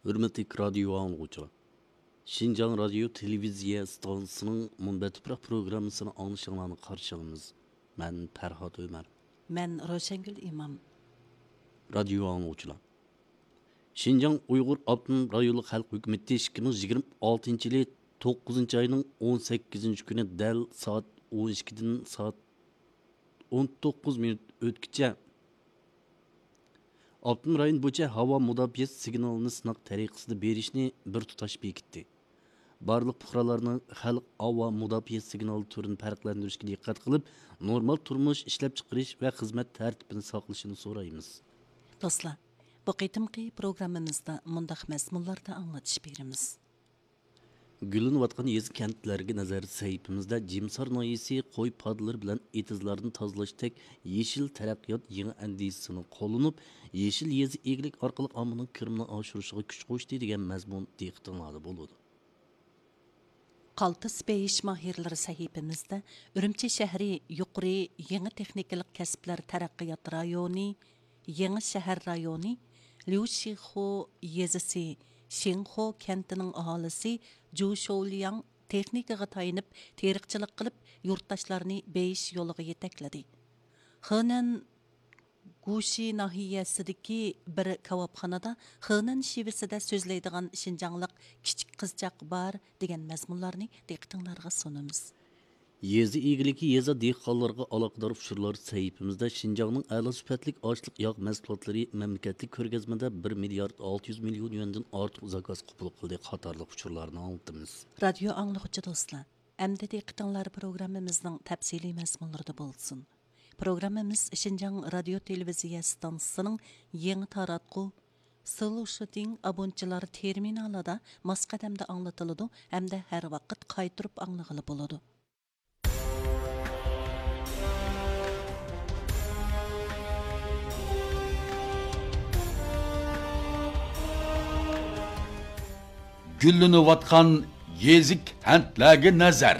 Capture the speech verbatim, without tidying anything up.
ھۆرمەتلىك رادىيو ئاڭلىغۇچىلار! شىنجاڭ رادىيو تېلېۋىزىيە ئىستانسىسىنىڭ مۇنبەت تۇپراق پروگراممىسىنى ئاڭلىشىڭلارنى قارشى ئالىمىز. مەن پەرھات ئۆمەر. مەن روشەنگۈل ئىمام. رادىيو ئاڭلىغۇچىلار! شىنجاڭ ئۇيغۇر ئاپتونوم رايونلۇق خەلق ھۆكۈمىتى ئىككى مىڭ يىگىرمە ئالتىنچى يىلى توققۇزىنچى ئاينىڭ ئون سەككىزىنچى كۈنى دەل سائەت ئون ئىككىدىن سائەت ئون توققۇز مىنۇت ئۆتكىچە ئاپتونوم رايون بويىچە ھاۋا مۇداپىئە سىگنالىنى سىناق تەرىقىسىدە بېرىشنى بىر تۇتاش بېكىتتى. بارلىق پۇقرالارنىڭ خەلق ھاۋا مۇداپىئە سىگنالى تۈرىنى پەرقلەندۈرۈشكە دىققەت قىلىپ، نورمال تۇرمۇش، ئىشلەپچىقىرىش ۋە خىزمەت تەرتىپىنى ساقلىشىنى سورايمىز. دوستلار، بۇ قېتىمقى پروگراممىمىزدا مۇنداق مەزمۇنلاردا ئاڭلىتىش بېرىمىز. گۈللىنىۋاتقان يېزا، كەنتلەرگە نەزەر سەھىپىمىزدە جىمسار ناھىيەسى قوي پادىلىرى بىلەن ئېتىزلارنى تازىلاشتەك يېشىل تەرەققىيات يېڭى ئەندىزىسىنى قوللىنىپ، يېشىل يېزا ئىگىلىكى ئارقىلىق ئاممىنىڭ كىرىمىنى ئاشۇرۇشىغا كۈچ قوشتى دېگەن مەزمۇن دىققىتىڭلاردا بولىدۇ. قالتىس بېيىش ماھىرلىرى سەھىپىمىزدە ئۈرۈمچى شەھىرى يۇقىرى يېڭى تېخنىكىلىق كەسىپلەر تەرەققىيات رايونى، يېڭى شەھەر رايونى، ليۇشىخۇ يېزىسى، شىنخۇ كەنتىنىڭ ئاھالىسى جۇ شوۋلياڭ تېخنىكىغا تايىنىپ تېرىقچىلىق قىلىپ، يۇرتداشلارنى بېيىش يولىغا يېتەكلىدى. خېنەن گۇشى ناھىيەسىدىكى بىر كاۋاپخانىدا خېنەن شېۋىسىدە سۆزلەيدىغان شىنجاڭلىق كىچىك قىزچاق بار دېگەن مەزمۇنلارنى دىققىتىڭلارغا سۇنىمىز. يېزا ئىگىلىكى، يېزا دېھقانلىرىغا ئالاقىدار ئۇچۇرلار سەھىپىمىزدە شىنجاڭنىڭ ئەلا سۈپەتلىك ئاشلىق ياغ مەھسۇلاتلىرى مەملىكەتلىك كۆرگەزمىدە بىر مىليارد ئالتە يۈز مىليون يۈەندىن ئارتۇق زاكاز قوبۇل قىلدى قاتارلىق ئۇچۇرلارنى ئاڭلىتىمىز. رادىيو ئاڭلىغۇچى دوستلار، ئەمدى دىققىتىڭلار پروگراممىمىزنىڭ تەپسىلىي مەزمۇنلىرىدا بولسۇن. پروگراممىمىز شىنجاڭ رادىيو تېلېۋىزىيە ئىستانسىسىنىڭ يېڭى تاراتقۇ سلوشىتىڭ ئابونچىلار تېرمىنالىدا ماس قەدەمدە ئاڭلىتىلىدۇ ھەمدە ھەر ۋاقىت قايتۇرۇپ ئاڭلىغىلى بولىدۇ. گۈللىنىۋاتقان يېزا، كەنتلەرگە نەزەر.